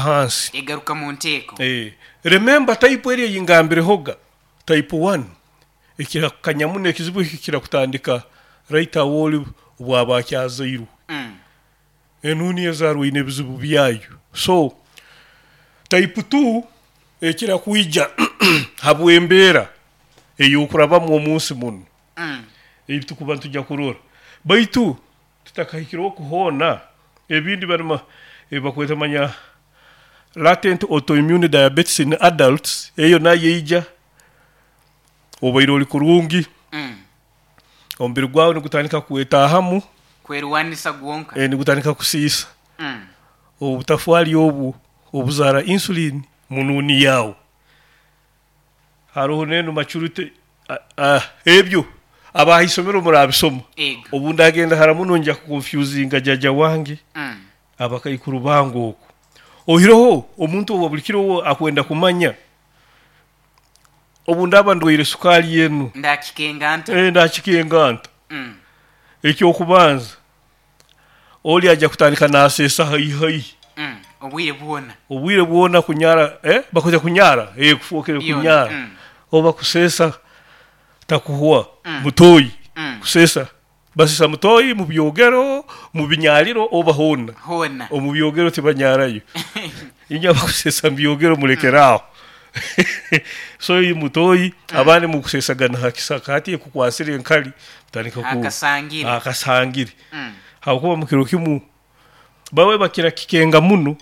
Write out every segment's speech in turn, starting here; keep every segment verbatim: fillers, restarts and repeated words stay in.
Ahansi. Egaruka mu nteeko. Eh, remember type eri eyingambirehoga, type one ekira kukanya muno, ekizibu eki kikira kutandika right awo oli obwaba akyazairwe. Mm. Enuuni ezaarwa eine ebizibu byayo. So type two ekira kwija habw'embeera ey'okurabamu omunsi munu. Mm. Ebi tukuba nitujya kurora, baitu tutakahikire oku hoona, ebindi barima ebi bakweta manya latent autoimmune diabetes in adults, eyo nayo eija obaire ori kurungi, Mm. omubiri gwawe nigutandika kwetaahamu, kwerwanisa gwonka, eh, nigutandika kusiisa Mm. obutafaali obu obuzaara insulin munuuni yaawe. Haroho n'enu maturity, ebyo abaha isomero murabisoma. Ego. Obu ndagenda hara muno nja kuconfusinga jjajja wange, Mm. abakaikuru bange oku. Oihireho omuntu owa buli kiro uwe akwenda kumanya obu ndaaba ndwaire sukaali enu, ndakikenga nta? Eh, ndakikenga nta? Mm. Ekyokubanza, oli ajja kutandika naaseesa haihi haihi. Mm. Obwire bwona. Obwire bwona kunyara, eh, bakweta kunyara, eh, kufookere Byona. kunyara. Mm. Oba kuseesa takuhwa. Mm. Mutoyi. Mm. Kuseesa basesa mutoyi mu byogero, mu binyaliro, oba hoona. Hoona. Omu byogero tibanyarayo, inywe abakusesa mu byogero mulekeraaho. So iyi mutoyi, abandi mukusesagana ha kisaka, hati ekukwasire enkali tandika ku akasangire. Akasangire. Mm. Habwokuba mu kiro kimu bawe bakira kikenga muno,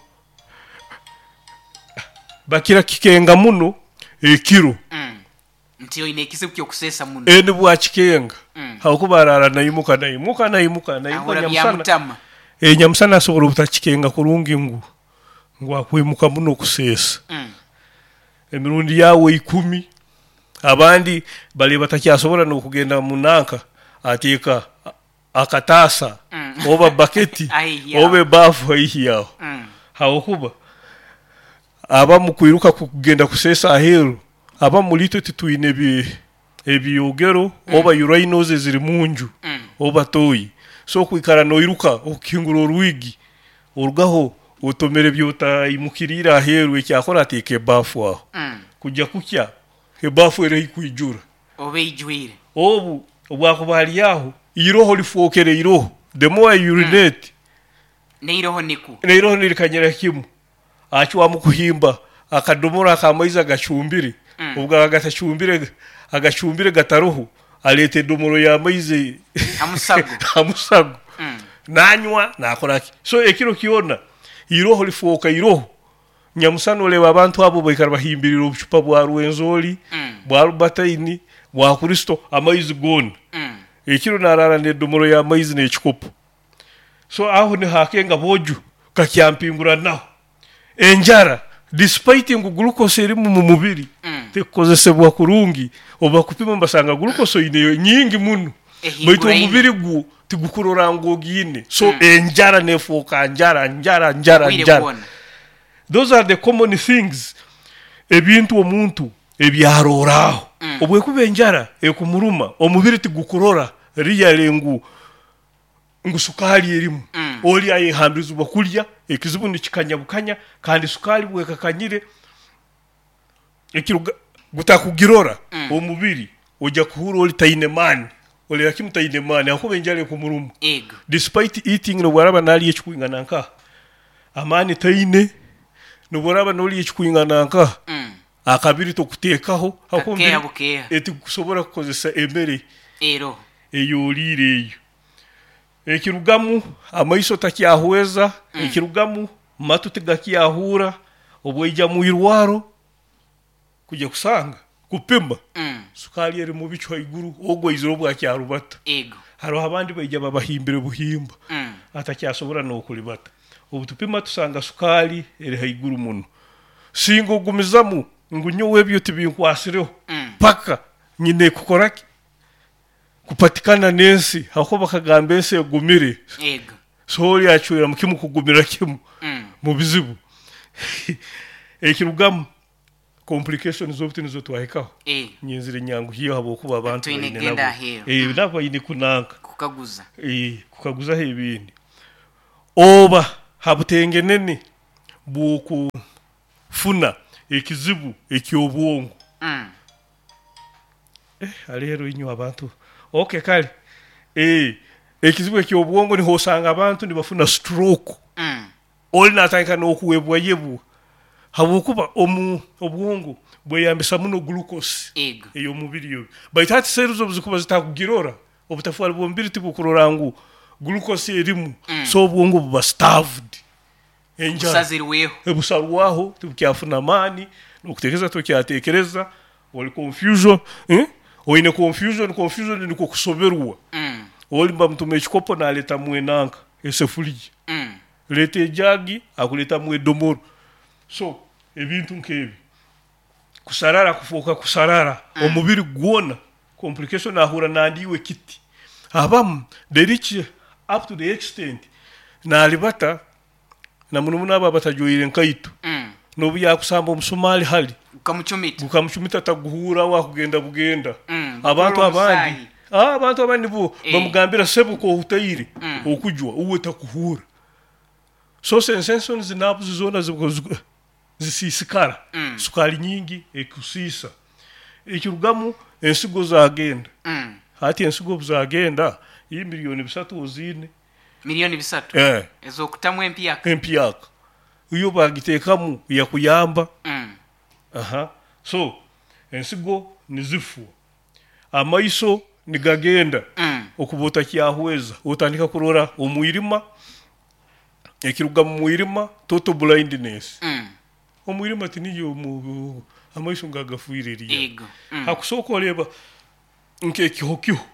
bakira kikenga muno ekiro. Mm. Nti oine ekizibu ky'okuseesa muno. Eni bwakikenga, Mm. habwokuba araara naimuka, naimuka, naimuka, naimuka. Ahura nyamusana. Byamutama. E, nyamusana asobora obutakikenga kurungi ngu ngu akwimuka muno kuseesa Mm. emirundi yawe ikumi. Abandi bali batakyasobora n'okugenda munanka, ateeka a- akataasa Mm. oba baketi haihi yawe. Oba ebaafu haihi yawe, Mm. habwokuba abamu kwiruka kugenda kuseesa aheeru, abamu mulitwe titwine ebi- ebyogero oba urinals eziri munju Mm. oba toyi, so kwikara noiruka okukingura orwigi, orugaho otomere byotayimukiriire aheeru. Ekyakora, ateeka ebaafu aho. Mm. Kujya kukya ebaafu eri kwijura. Oba eijwire. Obu obwakuba ali aho, iroho lifookere iroho. The more you urinate, neiroho niku neiroho nirikanyira kimu. Acwamu kuhimba akadomora ak'amaizi agacumbire. Mm. Obu gaba gatacumbire, agacumbire gataroho, aleeta edomoro y'amaizi hamusago. Hamusago. Mm. Nanywa, nakora ki. So ekiro kyona iroho lifooka iroho. Nyamusana oleba abantu abo baikara bahimbirira obucupa bwa Rwenzori, Mm. bwa Albertine, bwa Kristo, amaizi goona. Mm. Ekiro narara n'edomoro y'amaizi n'ekikopo. So aho nihakenga boju kakyampinguranaho enjara, despite ngu glucose erimu mu mubiri Mm. tekukozesebwa kurungi. Oba kupima basanga glucose oineyo nyingi muno, baitu ehinguraine. Omubiri gwo tigukurora ngu ogiine. So Mm. enjara nefuuka njara, njara, njara, obwire njara. Bwona. Those are the common things, ebintu omuntu ebyaroraho. Mm. Obwekuba enjara ekumuruma, omubiri tigukurora riyale ngu ngu sukaali erimu. Mm. Oli ayehambirizibwa kulya, ekizibu nikikanya bukanya, kandi sukaali bwekakanyire ekiruga gutakugirora. Mm. Omubiri ojja kuhura oli taine maani, olera kimu taine maani akuba enjara ekumuruma, ego despite eating. Nobwaraba nalya ekikwingana nkaha, amaani taine. Nobwaraba nolya ekikwingana nkaha, Mm. akabiri tokuteekaho hakuba kakeeha omubiri bukeeha. Etikusobora kukozesa emere ero eyoliire eyo. Ekirugamu, amaiso takyahweza. Mm. Ekirugamu, matu tigakyahuura. Obwaija mu irwaro kujya kusanga kupima, Mm. sukaali eri mu bicu haiguru. Ogwo aizire obwakyarubata. Ego. Haroho abandi baija babahimbire buhimba, Mm. atakyasobora n'okulibata. Obu tupima tusanga sukaali eri haiguru muno. Singa ogumizamu ngu nyowe ebyo tibinkwasireho, Mm. paka nyine kukora ki kupatikana n'ensi, hakuba bakagamba ensi egumire. Ego. So oli acwera mu kimu kugumira kimu Mm. mu bizibu. Ekirugamu, complications obuti nizo twahikaho. Eh. Nyenzire nyanguhiyo habwokuba abantu twine baine kugenda nabo. aheeru. Eh, nabo baine kunanka. Kukaguza. Eh, kukaguzaho ebindi, oba habutengenene. bw'okufuna ekizibu eky'obwongo. Mm. Eh, aleero inywe abantu, okay, kale eh, ekizibu eky'obwongo niho osanga abantu nibafuna stroke. Mm. Oli natandika n'okuwebwayebwa habwokuba omu obwongo bweyambisa muno glucose Ego. ey'omubiri oyo, baitu hati cells obu zikuba zitakugirora, obutafaali bw'omubiri tibukurora ngu glucose erimu. Mm. So obwongo buba starved, enjara. Busazirweho. Busarwaho, tibukyafuna amaani n'okuteekereza, tokyateekereza, oli confusion, eh? Oine confusion. Confusion nikwo kusoberwa. Mm. Oli bamutuma ekikopo, naleetamu enanka esefuriya. Mm. Leeta ejagi, akuleetamu edomoro. So ebintu nk'ebi, kusarara, kufooka kusarara omubiri gwona, complication, ahura nandiiwe kiti. Abamu they reach up to the extent nalibata, na muno muno abo abatajwaire nkaito. Mm. N'obu yakusamba omusumaali hali gukamucumita, gukamucumita, taguhuura, wakugenda bugenda. Mm, abantu gukurura abandi omusaahi. Ah, abantu abandi bo Eh. bamugambira sebuka ohutaire Mm. okujwa, uwe takuhuura. So sensations, nerves zona zibu- zibu- zisiisikara. Mm. Sukaali nyingi ekusiisa, ekirugamu ensigo zagenda. Mm. Hati ensigo obu zagenda, iyi miliyoni bisatu oziine. Miliyoni bisatu eh, ez'okutamu empyaka. Empyaka iyo bagiteekamu yakuyamba. Mm. Aha, so ensigo nizifwa, amaiso nigagenda. Mm. Okuba otakyahweza, otandika kurora omwirima, ekiruga mu mwirima total blindness. Mm. Omwirima tiniyo omu- amaiso ngagafuire eriya. Ego. Mm. Hakusooka oreba nk'ekihokiho.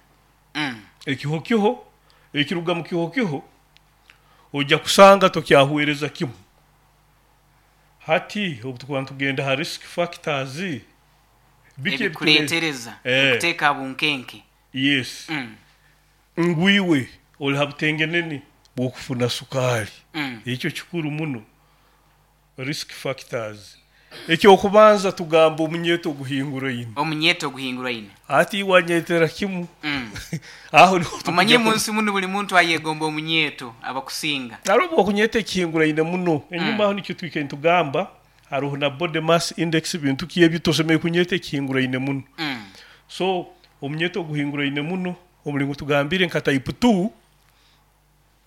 Mm. Ekihokiho, ekiruga mu kihokiho ojja kusanga tokyahwereza kimu. Hati obu tukuba nitugenda ha risk factors, biki ebituleeta? Ebikuleetereza Eh. okuteeka bunkenke. Yes. Mm. Ngwiwe oli ha butengenene bw'okufuna sukaali. Mm. Ekyo kikuru muno, risk factors. Ekyokubanza tugamba omunyeto oguhinguraine. Omunyeto oguhinguraine. Ati wanyetera kimu. Mm. Aho niho omanye tukujja mu nsi muno buli muntu ayegomba omunyeto abakusinga. Hariho okunyeta ekihinguraine muno enyuma aho, nikyo twike nitugamba hariho na body mass index, bintu ki ebyo, tosemere kunyeta ekihinguraine muno. Mm. So omunyeto oguhinguraine muno, omulingo tugambire nka type two,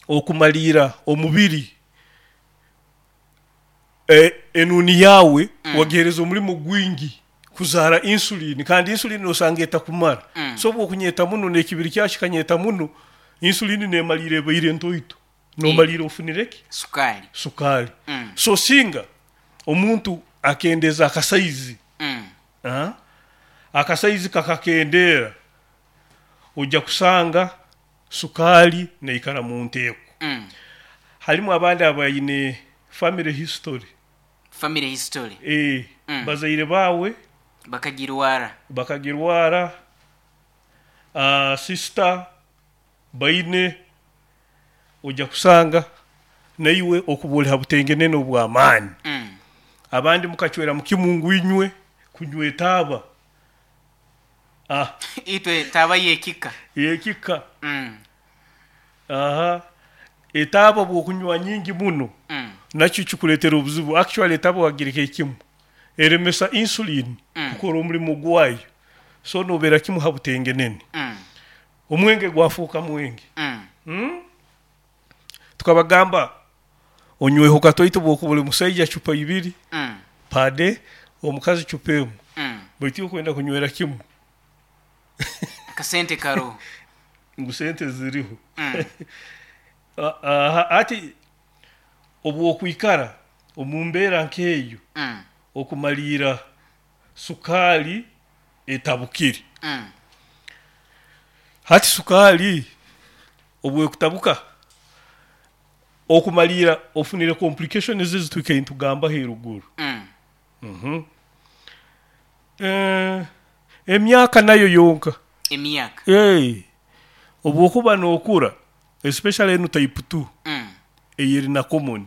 okumaliira omubiri e, enuni yawe Mm. wagihereza omulimo gwingi kuzaara insulin, kandi insulin osanga etakumara. Mm. So obwokunyeta muno n'ekibiri kyawe kikanyeta muno, insulin nemaliira ebaire ntoito, nomaliira ofunire ki? Sukaali. Sukaali. Mm. So singa omuntu akendeza akasaizi, Mm. ah, akasaizi kakakendeera, ojja kusanga sukaali neikara mu nteeko. Mm. Halimu abandi abaine family history. Family history. E, Mm. bazaire baawe bakagirwara. Bakagirwara, uh, sister baine, ojja kusanga naiwe okuba oli ha butengenene obw'amaani. Mm. Abandi mukacwera mukimu ngu inywe kunywa etaaba, ah, itwe taaba yekika. Yekika. Mm. Aha, etaaba bw'okunywa nyingi muno, Mm. nakyo kikuleetera obuzibu. Actually etaaba wagireka ekimu eremesa insulin Mm. kukora omulimu gwayo, so nobeera kimu ha butengenene. Mm. Omwenge gwafuuka mwenge. Mm. hmm? Tukabagamba onyweho katoito, bwokuba oli musaija cupa ibiri Mm. pade, omukazi cupa emu. Mm. Baitu okwenda kunywera kimu. Akasente karoho. Ngu sente ziriho. Mm. Aha, ati obwokwikara omu mbeera nk'eyo, Mm. okumaliira sukaali etabukire. Mm. Hati sukaali obwekutabuka, okumaliira ofunire complications ezitwikaire nitugambaho eruguru. Mm. Mhm. Eh, emyaka nayo yonka. Emyaka. Hey, obwokuba nookura, especially enu type two, Mm. eyeri na common,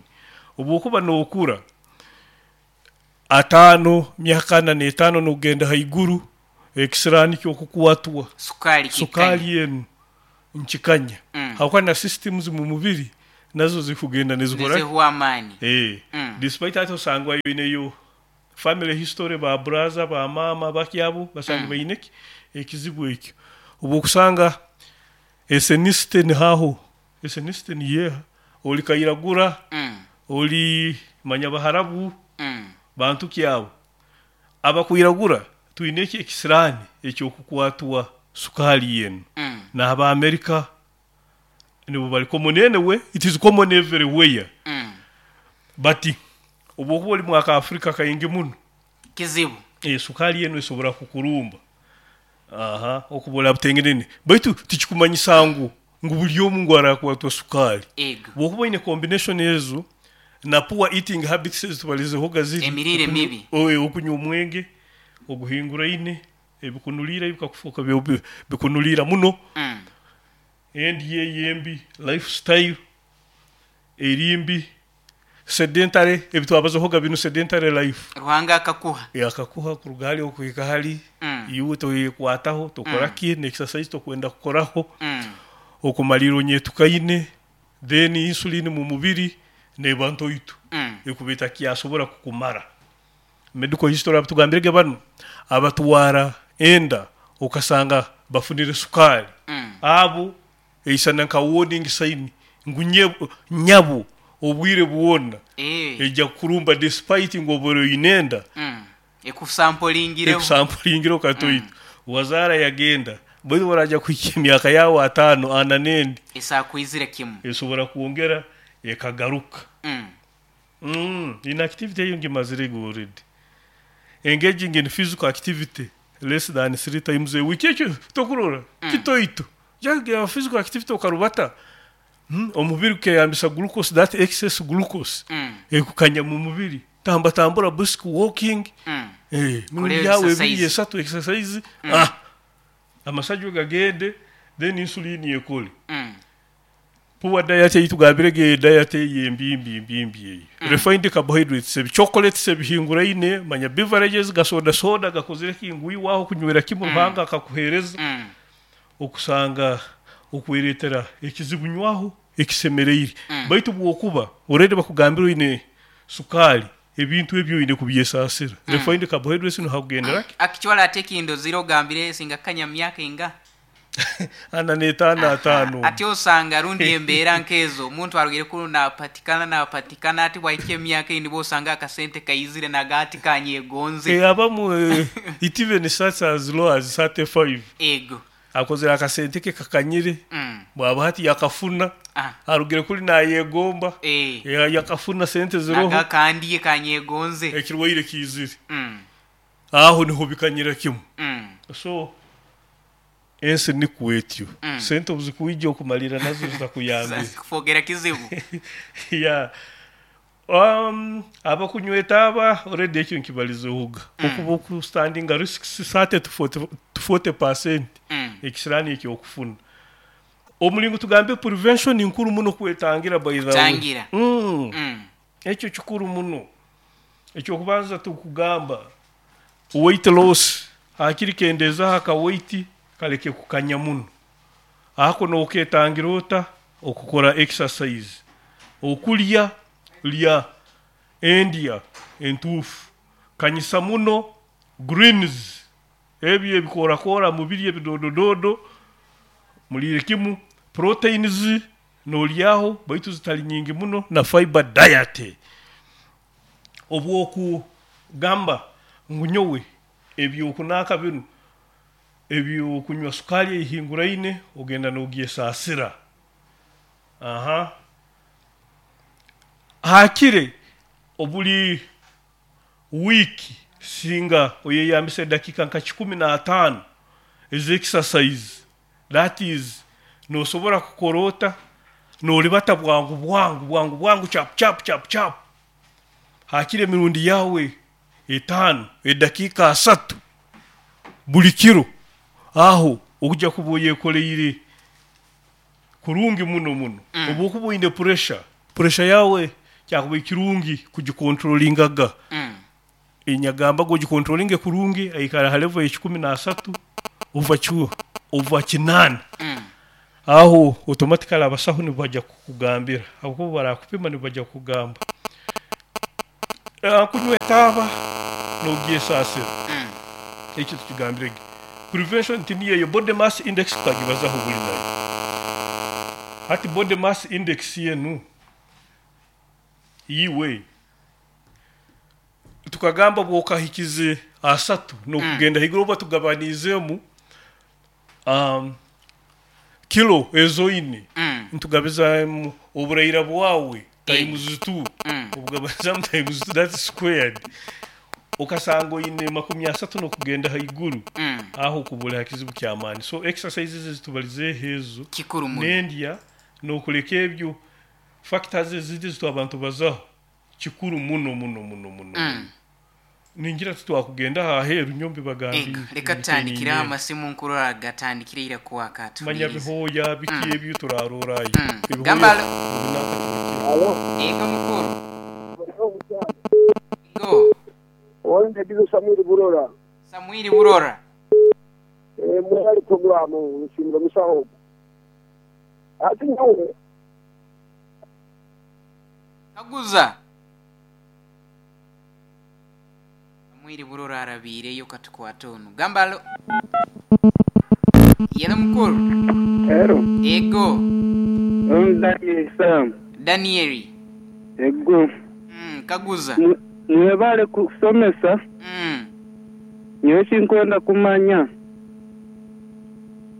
obwokuba nookura ataano, myaka ana n'etaano nokugenda haiguru, ekisiraani kyokukwatwa sukaali kikanya. Sukaali enu nkikanya. Mm. Habwokuba na systems mu mubiri Nazo zikugenda nizikora Nizihuwa amaani. Eh, Mm. despite ati osangwa yoineyo family history, ba brother, ba mama bakyabo basanga Mm. baine ki ekizibu ekyo. Obu okusanga ethnicity nihaho, ethnicity niyeha, oli kairagura, Mm. oli manya baharabu, Mm. bantu kyabo abakwiragura twine eki ekisirani ekyokukwatwa sukali yenu. Mm. N'aba America nibo bali common anyway, it is common everywhere. Mm. But obu okuba oli mwaka Afrika kaingi muno, Kizibu. e, sukali yenu esobora kukurumba aha okubola butengenene, baitu tikikumanyisa ngu ngu buli omu ngu arakwatwa sukali. Ego. Bwokuba oine combination ezo na poor eating habits ezitubalizehoga ziri, Emiriire okunywa- mibi. oe, okunywa omwenge oguhinguraine, ebikunuliira bikakufuuka byo- bikunuliira muno, Mm. endi yeyembi, lifestyle erimbi, sedentary, ebitwabazehoga binu, sedentary life. Ruhanga akakuha. Akakuha kuruga hali okuhika hali. Mm. Iwe toyekwataho, tokora ki n'exercise tokwenda kukoraho, Mm. okumalira onyetukaine, then insulin mu mubiri neba ntoito, Mm. ekuba etakyasobora kukumara. Medical history, abatugambirege bano abatwara enda okasanga bafunire sukali, Mm. abo eisana nka warning sign ngu nye- nyabo obwire bwona Eh. ejja kukurumba despite ngu obwire oine enda. Mm. Ekusampulingireho. Ekusampulingira okatoito wazaara yagenda, baitu baraja kuhika emyaka yawe ataano ana nendi, Esakwizire kimu. esobora kwongera ekagaruka. Mm. mm. inactivity eyo ngimazire already. Engaging in physical activity less than three times a week, ekyo tokurora kitoito jaga physical activity okarubata, mm. omubiri gukeyambisa glucose, that excess glucose Mm. ekukanya mu mubiri, tamba tambura, brisk walking. Mm. Eh, Kore mirundi yawe ebiri, exercise. esatu exercise, ah amasaju gagende, then insulin ekole. Mm. Poor diet eyitugambirege, diet eyembi mbi mbi mbi eyo, refined carbohydrates, ebi chocolates ebihinguraine, manya beverages, gasoda soda gakozire kingu iwaho kunywera kimu, Ruhanga akakuhereza, Mm. okusanga okweretera ekizibu. Nywaho ekisemereire, baitu bwokuba already bakugambira oine sukali, ebintu ebyo oine kubyesasira, refined carbohydrates nohakugendera ki. Akichwala ate kindozire ogambire singa kanya myaka inga? Ana n'etaano, ataano. Ate osanga rundi embeera nkezo omuntu arugire kunu napatikana napatikana, ati bwahika emyaka indi bosanga akasente kaizire nagati kanyegonze. Eh, abamu eh, it even starts as low as thirty-five. Ego. Akozere akasente ke kakanyire, Mm. bwaba hati yakafuna, Ah. arugire kuli nayegomba, Eh. Eh, yakafuna sente ziroho, Naga kandiye kanyegonze. Ekirwaire kiizire, Mm. aho niho bikanyira kimu. Mm. So ensi nikwetyo, Mm. sente obuzikwija okumalira nazo zitakuyambire. Kufogera kizibu. Yeah. um, abakunyweta aba already ekyo nkibalizehoga, okuba okustandinga risks thirty to forty to forty percent Mm. ekisirani ekyokufuna. Omulingo tugambe prevention nkuru muno, kwetangira, by the way. Kutangira. mm. Mm. Ekyo kikuru muno. Ekyokubanza tukugamba weight loss, hakiri kendezaho aka weight kaleke kukanya muno. Ako noketangira ota? Okukora exercise, okulya lya endya entuufu, kanyisa muno greens, ebyo ebikorakora mubiri, ebidodododo mulire kimu, proteins nolyaho baitu zitali nyingi muno, na fiber diet. Obwokugamba ngu nyowe ebyokunaka binu ebyokunywa sukali ehinguraine, ogenda nogyesasira. Aha hakire obuli wiiki singa oyeyambisa edakika nka kikumi n'ataano ez'exercise, that is nosobora kukora ota, nolibata bwangu bwangu bwangu bwangu, chap chap chap chap, hakire emirundi yawe etaano, edakiika asatu buli kiro, aho okujja kuba oyekoleire kurungi muno muno. Mm. Obu okuba oine pressure, pressure yawe kyakuba ekirungi kugikontrolingaga. Mm. Enyagamba gogikontrolinge kurungi, aikara ha level ekikumi n'asatu ova chu ova kinaana. Mm. Aho automatically abasaho nibajya kukugambira, ahubwo barakupima nibajya kugamba. Eh, kunywa etaaba nogyesasira. Mm. Ekyo tukigambire. Prevention tiniyeyo body mass index tukagibazaho buli nayo. Hati body mass index yenu yiwe tukagamba bwokahikize asatu nokugenda mm. higuru oba tugabanizemu um, kilo ezoine Mm. ntugabizamu oburayira bwawe times two. Mm. Obugabanyizamu times two, that's squared, okasanga oine makumi asatu nokugenda haiguru. Mm. Aho kubula hakizibu kyamaani. So exercises ezitubalizeho ezo Kikuru muno. nendya nokuleka ebyo factors ezindi zitu abantu bazaho kikuru muno muno muno muno. Mm. Ningira tutwakugenda aheru nyombi bagambire. Ego, reka tutandikire amasimu nkurora gatandikire ira kuwaka manya tuwulirize. Bihoya biki ebyo turarorayo. Mm. Ebihoya Gamba alo. binaka. Ego mukuru. Ego. Wende dizo Samwiri Burora. Samwiri Burora. Eh, mwali programu nshimira musaho. Ati nyawe Kaguza. Samwiri Burora arabireyo katukwata ono. Gamba alo. Yelo mukuru. Ero, Ego. Daniel Sam. Danieli. Ego. Mm, kaguza. Mwebale kusomesa, Mm. nyowe sinkwenda kumanya.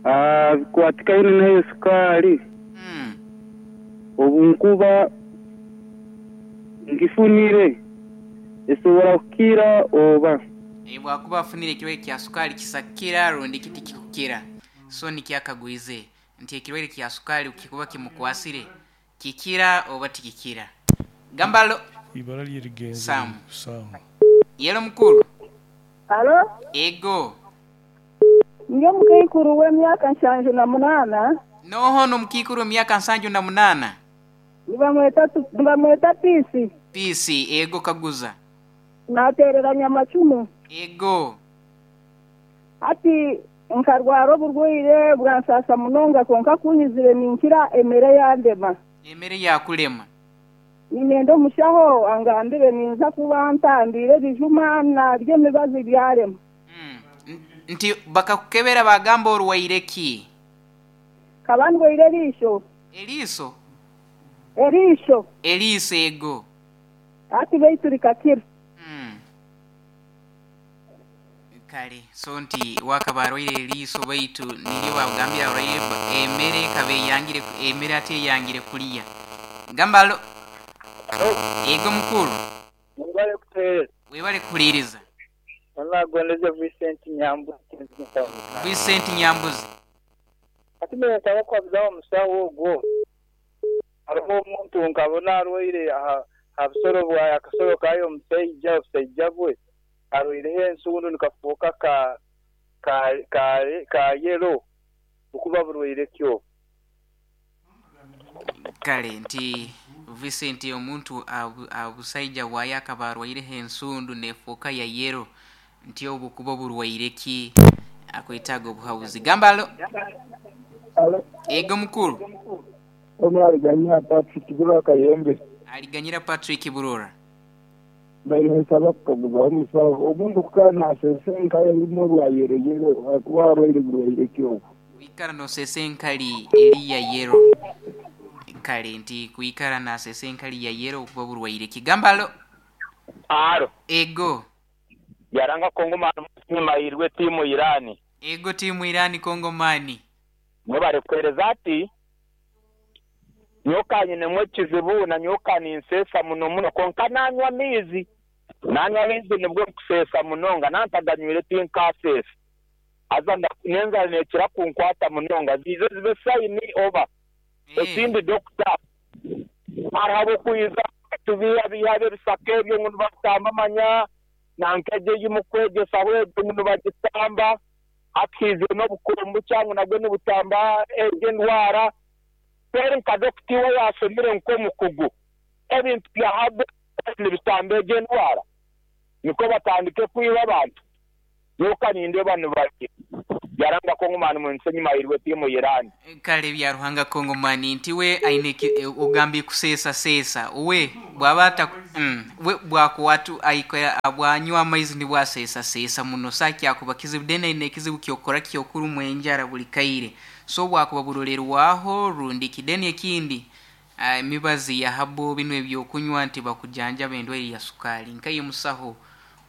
Ah, bikwatikaine n'eyo sukaali. Mm. Obu nkuba ngifunire esobora kukira oba E, bwakuba afunire ekirwaire kya sukaali kisakira rundi kiti kikukira. So nikyakagwize nti ekirwaire kya sukaali kikuba kimukwasire kikira oba tikikira. Gambalo. Ibara lyerigenze. Sam. Sam. Yelo mukuru. Alo, Ego. nge mukaikuru w'emyaka nshanju na munana. Noho nomukikuru emyaka nsanju na munana. Nibamweta tu- nibamweta Pisi. Pisi. Ego, kaguza. Natereranya amacumu. Ego. Ati nkarwara oburwaire bwansasa munonga, konka kunyizire ninkira emere yandema. Emere yakulema. Ninenda omushaho angambire ninza kuba ntambire ebijuma narya emibazi byarema. Mm. N- nti bakakukebera bagamba orwaire ki? Kaba ndwaire eriisho. Eriiso. Eriisho. Eriiso. Ego. Ati beitu rikakira. Mm. Kale so nti wakaba arwaire eriiso baitu niryo bagambira arwaire ba- emere ekaba eyangire, emere ate eyangire kuliya. Gamba alo. Ego mukuru. Mwebale kuteereza. Webale kuhuliriza. Onagondeze Vincent Nyambuzi. Vincent Nyambuzi. Ati mbere nsaba kwabuzaho omusawo ogwo. Hariho omuntu nkabona arwaire aha ha busoro bwaye, akasoro kayo omusaija, obusaija bwe arwaireho ensundu nikafuuka ka ka ka ka yelo okuba burwaire kyo. Kale nti Vincent omuntu abu- abusaija bwaye akaba arwaireho ensundu nefuuka ya yero, nti obwo kuba burwaire ki? Akwetaaga obuhabuzi. Gamba alo. Alo, Ego mukuru. omwaliganya Patrick Burora Kayembe. Aliganyira Patrick Burora. Baine nsaba kukaguzaho omusaho omuntu kukaba nasesa enkaya erimu orwayereyere akuba arwaire burwaire ki obwo? Kuikara nosesa enkali eri ya yero. Kale nti kuikara nasesa enkali ya yero okuba burwaire ki? Gamba alo. Aro. Ego. Yaranga Kongo mahirwe timu Irani. Ego timu Irani Kongomani. Mwebale kuhereza. Ati nyoka nyinemu ekizibu na nyoka ninsesa muno muno, konka nanywa amaizi nanywa amaizi nibwo nkusesa munonga, nantaganywire tinkasesa. Aza nda- nenzara nekira kunkwata munonga, zize zibe sayini oba Eh, ekindi dokita, hariho abokwiza tubiha biha ebisaka ebyo ngu nibatamba manya nankeje yimukwegesa bwegyo ngu nibagitamba hakiizire n'obukumbu cyangu nabwo nibutamba egyo endwara. Kweri nka dokita iwe yasomire nk'omukugu, ebintu bya habo nibitamba egyo endwara, niko batandike kwiba abantu, nyoka nindeba nibari Byaranga Kongomani mu nsenyi mahirwe timu Iran. Kale Byaruhanga Kongomani nti we aine ogambi kusesa sesa we bwabata mm, we bwakuwatu aikora bwanywa amaizi ni bwasesa sesa muno saki akuba kizibu dena ine kizibu kyokora kyokuru mwenjara buli kaire so bwakuba burolerwaho rundi kideni ekindi emibazi ya habo bino ebyokunywa nti bakujanja bendwaire ya sukali nkaye musaho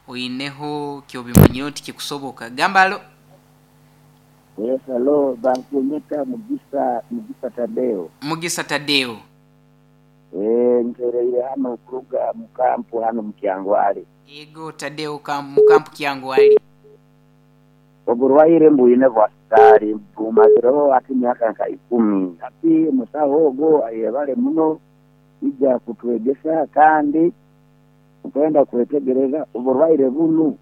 oineho kyobimanyo nti kikusoboka gambalo. Yes, hello, bankunyeta Mugisa, Mugisa Tadeo. Mugisa Tadeo. Eh, ntereire hano kuruga mukampu hano mukyangwali. Ego Tadeo kam mukampu kyangwali. Oburwaire mbwine bwa sukali bumazireho ati myaka nka ikumi. Ati musaho ogo ayebale muno ija kutwegesa kandi kwenda kwetegereza oburwaire bunu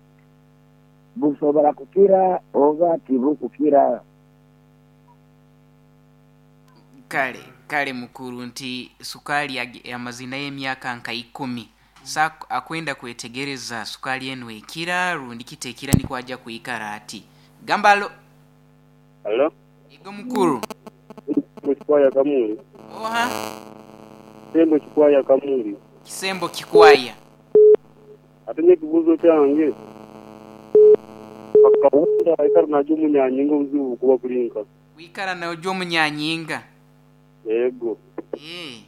busobora kukira oba tibukukira. Kale kale mukuru nti sukali amazina y'emyaka nka ikumi sa akwenda kwetegereza sukali eno ekira rundi kitekira niko ajja kuikara ati gambalo. Hello ego mukuru Kikwaya kamuli. Oha Kisembo Kikwaya kamuli. Kisembo Kikwaya atenye kibuzo kyange akawunda aikara najo munyanyinga obuzibu kuba kulinka wikara najo munyanyinga yego eh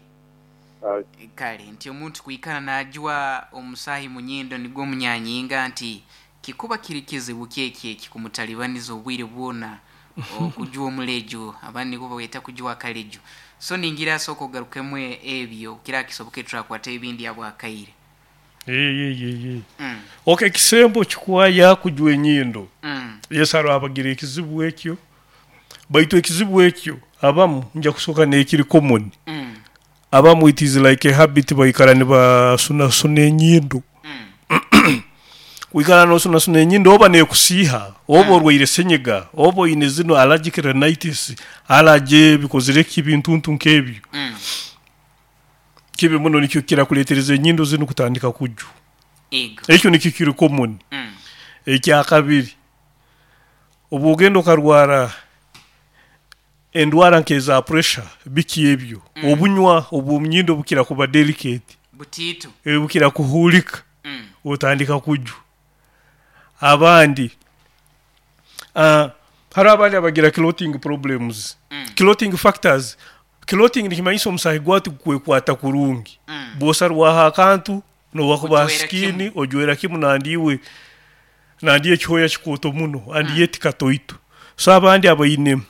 kale nti omuntu kuikara najwa omusahi munyindo nigwo munyanyinga nti kikuba kiri kizibu kyeki kikumutalibaniza obwire bwona okujwa omulejo abandi niko baweta kujwa kalejo so ningira soko garukemwe ebyo kira kisoboke turakwata ebindi abwakaire. Eh eh eh. Mm. Okay, kisembo Kikwaya kujwa enyindo. Mm. Yesaro abagira ekizibu ekyo. Baitu ekizibu ekyo abamu nja kusoka nekiri common. Mm. Abamu it is like a habit baikara ne basuna suna enyindo. Mm. Wikara no suna suna enyindo oba nekusiha, oba orwaire senyiga, oba ine zino allergic rhinitis, allergy bikozire kibintu nkebyo. Mm. Kibi muno nikyo kira kuletereza enyindo zino kutandika kuju. Ego. Ekyo nikyo kiri common. Mm. Ekya kabiri. Obugendo karwara endwara nkeza pressure biki ebyo. Mm. Obunywa obumnyindo bukira kuba delicate. Butitu. E bukira kuhulika. Mm. Otandika kuju. Abandi ah uh, hari abandi abagira clotting problems. Mm. Clotting factors. Clotting nikimanyisa omusahi gwati kwekwata kurungi. Mm. Bosarwaha akantu nowakuba skin ojwera kimu nandiwe nandiye kihoya kikoto muno andiye mm. tikatoito. So abandi abayine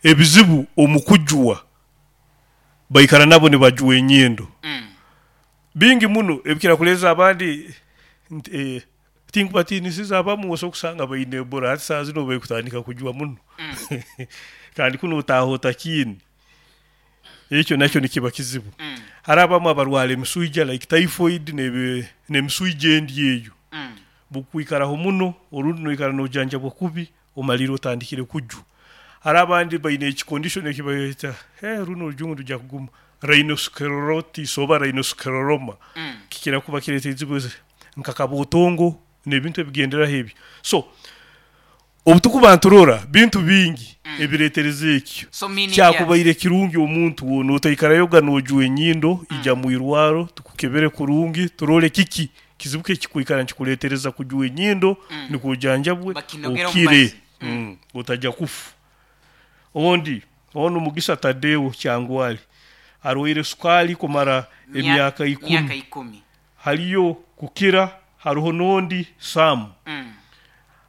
ebizibu omukujwa baikara nabo ne bajuwe enyindo. Mm. Bingi muno ebikira kuleza abandi eh, tinkubatinisiza abamu oso kusanga bayine bora ati saa zino bekutandika kujwa muno. Mm. Kandi kuno utahota kini. Ekyo nakyo nikiba kizibu. Mm. Hari abamu abarwara emisuija like typhoid nebe nemisuija endi eyo. Mm. Bukwikaraho muno orundi noikara nojanja bwakubi omaliro otandikire kuju. Hari abandi bayine eki condition ekibayeta eh runo rujungu rujya kuguma rhinosclerosis oba rhinoscleroma. Mm. Kikira kuba kireta ebizibu nkakabotongo nebintu ebigendera hebyo. So obutukuba nturora bintu bingi mm. ebiretereza ekyo. So kyakubaire kirungi omuntu wono otaikarayoga nojwa enyindo mm. ija muirwaro tukukebere kurungi turole kiki kizibuke kikuikara nkikuletereza kujwa enyindo mm. nikujanjabwe okire mm. mm. otajja kufu. Ondi ono Mugisa Tadeo Kyangwali arwaire sukali kumara emyaka ikumi. Myaka ikumi. Haliyo kukira haruho nondi Sam. Mm.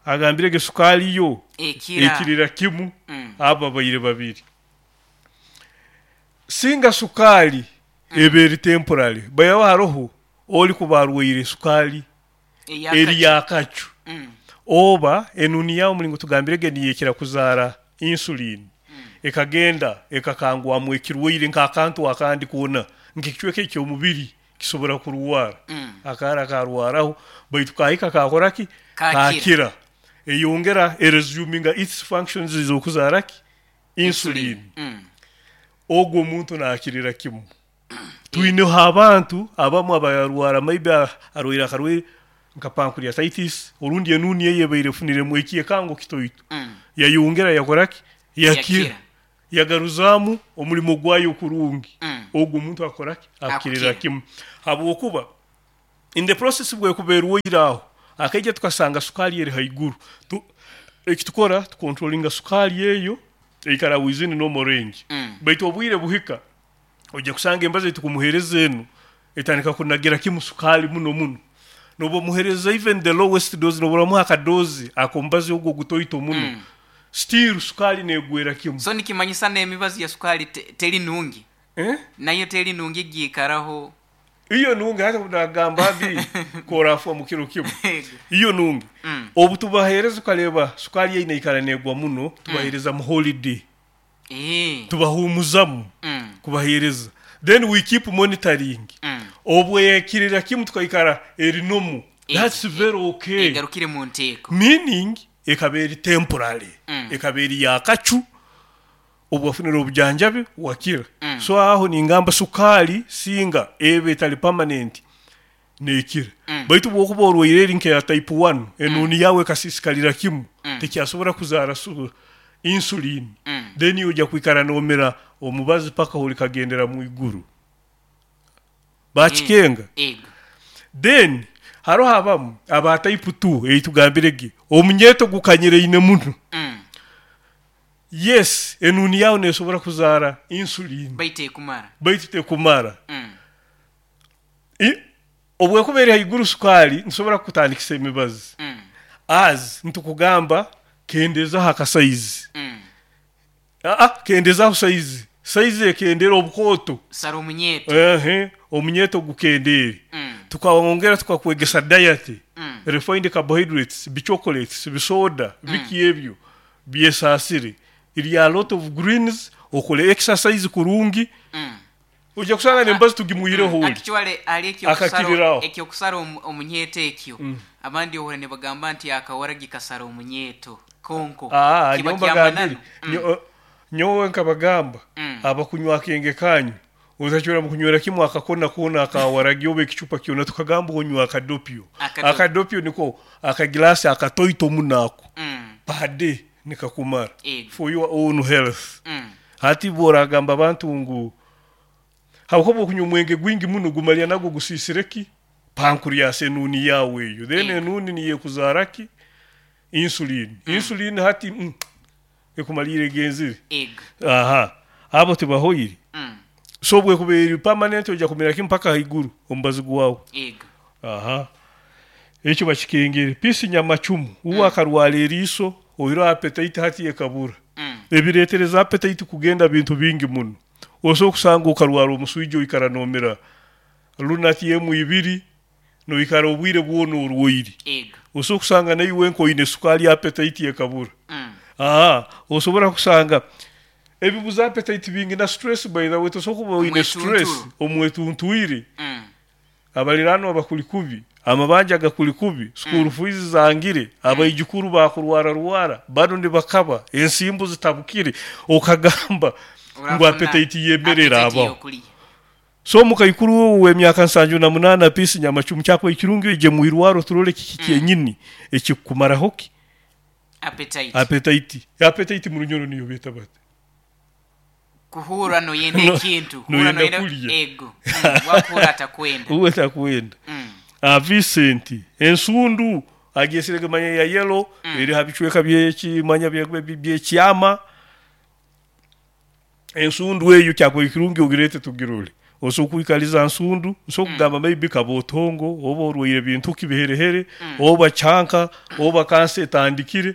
Agambire ge sukali yo ekira ekirira kimu mm. aba bayire babiri. Singa sukali mm. eberi temporary bayawa haroho oli kubarwaire sukali eri yakacu. Mm. Oba enuni yawo mulingo tugambire ge niyekira kuzara insulin. Mm. Ekagenda ekakangwamu ekirwaire nkakantu akandi kuona nkikichweke ekyomubiri kisobora kuruwara. Mm. Akara karwaraho baitu kahika kakoraki kakira eyongera eresuminga its functions zokuzaraki insulin. Mm. Ogwo omuntu nakirira kimu. Twineho abantu abamu abarwara maybe arwaire akarwaire Nka pancreatitis orundi enuni eyo ebaire efuniremu ekyekango kitoito, Mm. yayongera yakoraki, yakira, Yakira. yagaruzaamu omulimo gwayo kurungi. Mm. Ogwo omuntu akoraki, akirira Akukira. kimu, habwokuba in the process bwekuba erwaire aho akaija tukasanga sukaali eri haiguru. Tu- ekitukora tukontrolinga sukaali eyo eikara within normal range. Mm. Baitu obwire buhika ojja kusanga embazi etukumuheereza enu etandika kunagira kimu sukaali muno muno, noba omuheereza even the lowest dose, noba oramuha akadozi akombazi ogwo gutoito muno, Mm. still sukaali negwera kimu. So nikimanyisa n'emibazi ya sukaali te- teri nungi? Eh? Nayo teri nungi giikaraho? Iyo nungi, hata nagamba mbi korafa mu kiro kimu. Iyo nungi. Mm. Obu tubaheereza ukareba sukaali yeine ikara negwa muno, tubaheereza mu holiday, Eh. tubahumuzamu, Mm. kubaheereza, then we keep monitoring. Mm. Obwekirira kimu tukaikara erinomu, Eh, that's very okay. Egarukire mu nteeko. Meaning ekaba eri temporary, Mm. ekaba eri yakacu, obwafunira obujanjabi wakira. Mm. So aho ningamba sukaali singa ebe etali permanent nekira. Mm. Baitu bwokuba orwaire eri nkeya type one, enuni yawe ekasisikalira kimu, Mm. tekyasobora kuzaara su- insulin, Mm. then ojja kwikara nomera omubazi paka holikagendera mu iguru bakikenga. Ego. Then haroho abamu aba type two eitugambire ge omunyeto gukanyireine muno. Mm. Yes, enuni yawe nesobora kuzaara insulin. Baitu ekumara. Baitu tekumara. Mm. I- obwekuba eri haiguru sukaali nsobora kukutandikisa emibazi, Mm. as ntukugamba kendezaho akasaizi. Mm. Aa, kendezaho saizi, saizi ekendera obukooto. Sara omunyeto. Ehe, omunyeto gukendeere. Mm. Tukawongera tukakwegesa diet, Mm. refined carbohydrates, bichocolates, bisoda, biki ebyo byesaasire, irya a lot of greens, okole exercise kurungi. Mm. Ojja kusanga nembazi tugimuireho oli Actually ali ekyokusara Akakiriraho. Ekyokusara omu- omunyeto ekyo, abandi ohura nibagamba nti akawaragi kasara omunyeto konko Ah, kiba nyowe mbagambire kyamananu. Mm. Nyo- nyowe nkabagamba, Mm. abakunywa akenge kanyu otachora mukunywera kimwe akakona kona akawaragi oba ekicupa kyona, tukagamba onywa akadopio. Akadopio. Akadopio niko akagilasi akatoito munako Mm. pade nikakumara Ego. for your own health. Mm. Hati boragamba abantu ngu habwokuba okunywa omwenge gwingi muno gumalya nagwo gusisireki pancreas, enuni yawe eyo, then Ego. enuni niyekuzaraki insulin. Insulin hati mm, ekumalire egenzire. Ego. Aha, abo tibahoire. Mm. So bwekuba eri permanent ojja kumira kimu mpaka haiguru omubazi gwawe. Ego. Aha, ekyo bakikengere pisi nyamacumu uwe akarwara eriiso oiro appetite hati ekabura. Mm. Ebireetereza appetite kugenda bintu bingi muno, osobola okusanga okarwara omuswija oikara nomera lunati emu ibiri noikara obwire bwona orwaire. Ego. Osobola okusanga naiwe nkoine sukaali appetite ekabura. Mm. Aha, osobola kusanga ebibuza appetite bingi na stress, by the way, tosobola kuba oine stress Omwetunturo. omwetuntwire. Mm. Abaliraanwa bakuli kubi, amabanja gakuli kubi, school fees zangire, abaijukuru bakurwara rwara bano nibakaba ensimbu zitabukire, okagamba ngu Urafuna appetite yemerera appetite abaho. y'okulya. So mukaikuru w'emyaka nsanju na munaana pisi nyamacumu, kyakwa ekirungi ije mwirwaro turole kiki kyenyini ekikukumaraho ki Appetite. Appetite, appetite mu runyoro niyo beta bate? Kuhura noyenda No- ekintu kuhura. Noyenda Noyenda kulya. Ego. Mm. Wakuhura atakwenda. Uwe takwenda. Mm. Ah, Vincent ensundu agesire manya ya yellow, Mm. eri habicweka byekimanya byekyama, ensundu eyo kyakwa ekirungi ogirete tugirole. Osobola kwikaliza nsundu, osobola kugamba maybe kabotongo oba orwaire bintu kibiherehere, oba kyanka oba kansa etandikire.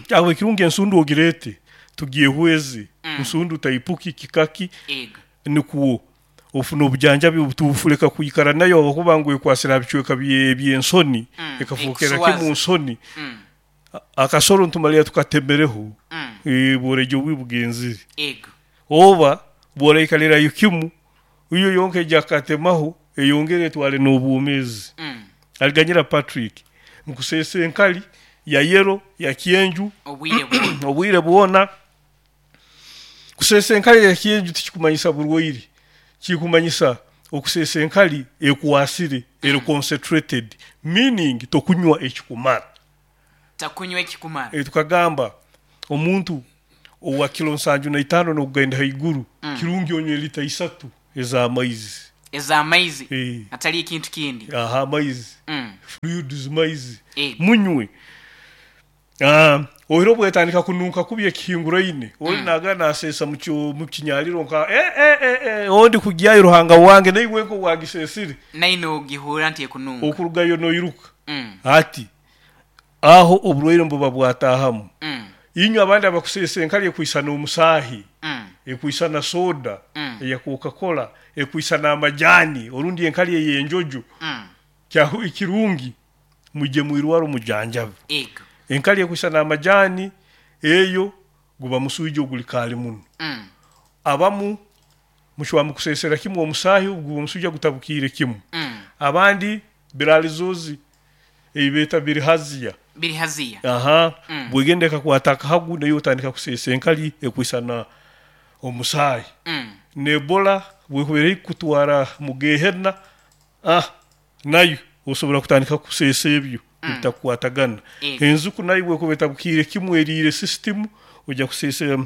Kyakwa ekirungi ensundu ogirete tugyehweze, nsundu taipuki kikaki. Ego. Nikuwo ofuna obujanjabi obutufuleka kwikara nayo okuba ngu ekwasira bicweka bye- by'ensoni, Mm, ekafukira ekuswaza. kimu nsoni. Mm. Akasoro ntumalira tukatemereho. Mm. Eh, bworejo bwibugenzire Ego. oba bworaikalirayo kimu iyo yonka ejakatemaho eyongere etwale n'obwomeezi. Mm. Aliganyira Patrick nkusesa enkali ya yero ya kyenju. Obwire bwona. Obwire bwona kusesa enkali ya kyenju tikikumanyisa burwaire, kikumanyisa Okusesa enkali ekwasire, eri concentrated, meaning tokunywa ekikumara. Takunywa ekikumara. Eh, tukagamba omuntu owa kilo nsanju na itaano n'okugenda haiguru, Mm. kirungi onywe lita isatu ez'amaizi. Ez'amaizi. Eh. Atali ekintu kindi. Aha, amaizi. Mm. Fluids, maizi. Eh. Munywe. Ah, ohiro bwetandika kununka kubi ekihinguraine, oli Mm. naga nasesa mu kyo- mu kinyaliro nka eh, eh, eh, eh, ondi kugyayo Ruhanga wange naiwe nko wagisesire. Naine ogihurra nti ekununka. Okurugayo noiruka. Mm. Ati aho oburwaire mbuba bwatahamu. Mm. Inywe abandi abakusesa enkali ekwisana omusaahi, Mm. ekwisana soda, Mm. eya Coca-Cola, ekwisana amajani, orundi enkali ey'enjojo. Mm. Kyahu ekirungi muje mwirwaro mujanjabe. Ego. Enkali ekwisana amajani eyo guba musuijo oguli kaali muno. Mm. Abamu mushwa mukusesera kimwe omusaahi guba omusuija gutabukiire kimwe. Mm. Abandi biralizozi ebibeeta birihaziya. Birihaziya. Aha. Mm. Bwegenda ekakwata akahagu nayo otandika kusesa enkali ekwisana omusaahi. Mm. N'Ebola bwekubeera ekutwara mu gehena, ah, nayo osobola kutandika kusesa ebyo Mm. ebitakukwatagana. Ego. Enzuku nayo bwekuba etabukiire kimwe eriire system, ojja kusesa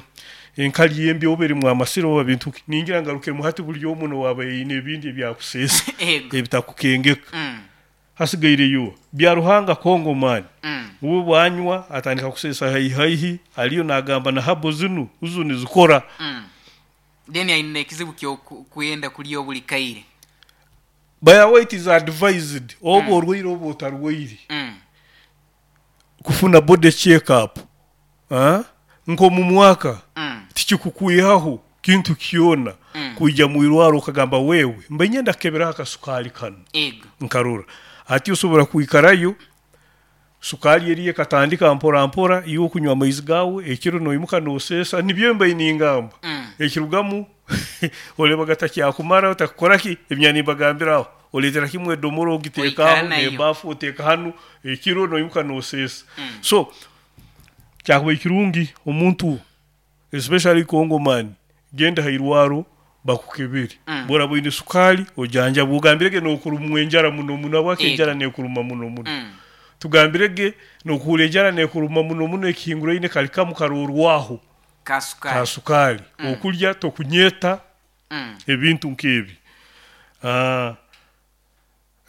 enkali embi oba erimu amasiro oba bintu ki. Ningira ngarukiremu hati buli omu nowaaba aine ebindi ebyakusesa Ego. ebitakukengeka. Mm. Hasigaireyo bya Ruhanga Kongo man. Mm. Uwe bwanywa atandika kusesa haihaihi, aliyo nagamba na habo zinu uzu nizikora. Mm. Then aine ekizibu ky'okwenda kulya obuli kaire. By the way, it is advised oba Mm. orwaire oba otarwaire Mm. kufuna body check up. Ah? Nko mu mwaka Mm. tikikukwihaho kintu kyona. Mm. Kuija mu irwaro okagamba wewe mbe nyenda kukebera akasukali kano. Ego. Nkarora ati osobora kwikarayo sukali eriye katandika mpora mpora, iwe okunywa amaizi gawe ekiro noimuka nosesa, nibyo mbe ningamba. Mm. Ekirugamu oleba gatakyakumara otakukora ki emyani mbagambiraho oletera kimwe edomoro ogiteekaho Oikara nayo. n'ebafu oteeka hanu ekiro noimuka nosesa. Mm. So kyakuba ekirungi omuntu especially Congo man genda hairwaro bakukebere. Mm. Bora bwine sukali ojanja bugambirege nokurumwa enjara muno muno abwake Ego. enjara nekuruma muno muno. Mm. Tugambirege nokuhura enjara nekuruma muno muno ekihinguraine kali kamu karorwaho Kasukali. kasukali. Mm. Okulya tokunyeta Mm. ebintu nk'ebi. Ah,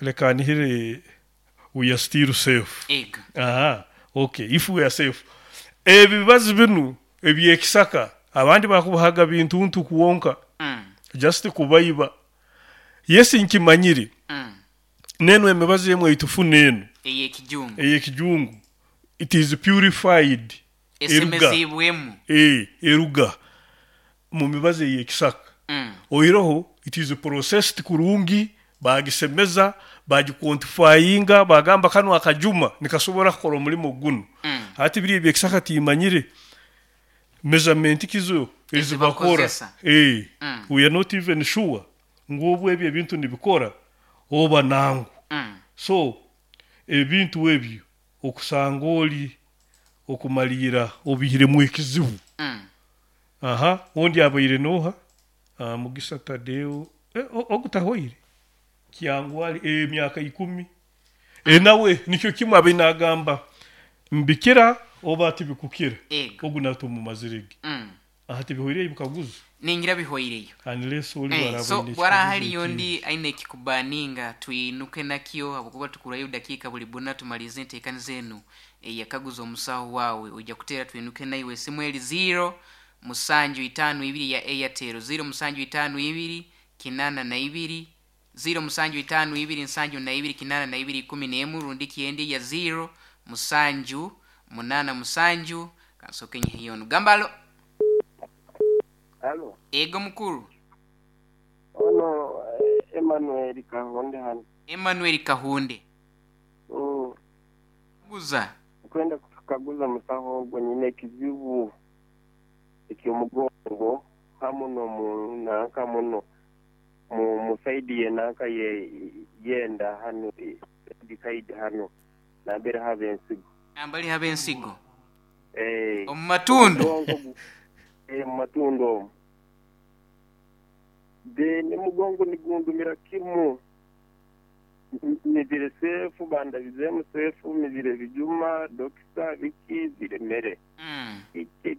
leka nihire we are still safe. Ego. Aha, okay, if we are safe. Ebibazi binu ebyekisaka abandi bakubahaga bintu ntu kuwonka. Mm. Just kubaiba. Yesi nkimanyire. Mm. Neno emibazi emwe itufuna eno. Ey'ekijungu. Ey'ekijungu. It is purified. Eruga. Esemezibwemu. Eh, eruga mu mibazi ey'ekisaka. Mm. Oiroho it is processed kurungi, bagisemeza, bagiquantifyinga, bagamba kano akajuma nikasobora kukora omulimo guno. Mm. Hati biri ebyekisaka timanyire measurement kizo ezibakora. Ezibakozesa. Eh, Mm. we are not even sure ngobwo ebyo ebintu nibikora oba nangu. Mm. So ebintu ebyo okusanga oli okumalira obihiremu ekizibu. Mm. Aha, ondi abaire noha ah, Mugisa Tadeo eh, ogutahoire kyangwali emyaka ikumi. E nawe nikyo kimwe abe nagamba mbikira oba tibikukira. Ego. Ogu natumumazirege. Mm. Aha tibihoire ibikaguzo. Ningira bihoireyo. Unless oli Eh, baraba so ine bwara ekikaguzo hali yondi ekindi. aine ekikubaninga twinuke nakyo habwokuba tukurayo dakiika buli buna tumalize enteekani zenu eyakaguza omusaho waawe ojja kuteera twinuke naiwe esimu eri zero musanju itaano ibiri ya Airtel zero musanju itaano ibiri kinana na ibiri zero musanju itaano ibiri nsanju na ibiri kinana na ibiri ikumi n'emu rundi kyendi ya zero musanju munana musanju kansoke nyihiyono gambalo. Halo. Ego mukuru. Ono eh, Emmanuel Kahunde hano. Emmanuel Kahunde. Mm. Guza. Kwenda kukaguza musaho ogwo nyine ekizibu eky'omugongo hamuno mu nanka muno mu musaidi ye nanka ye yenda hano saidi hano nambere habe ensigo. Nambali habe ensigo. Eh. Omu matundu. Omugongo gu- eh, mu matundu omwo. Then omugongo nigundumira kimu. N- mizire sefu, bandabizemu sefu, mizire bijuma, dokita, biki, ziremere. Mm. Iki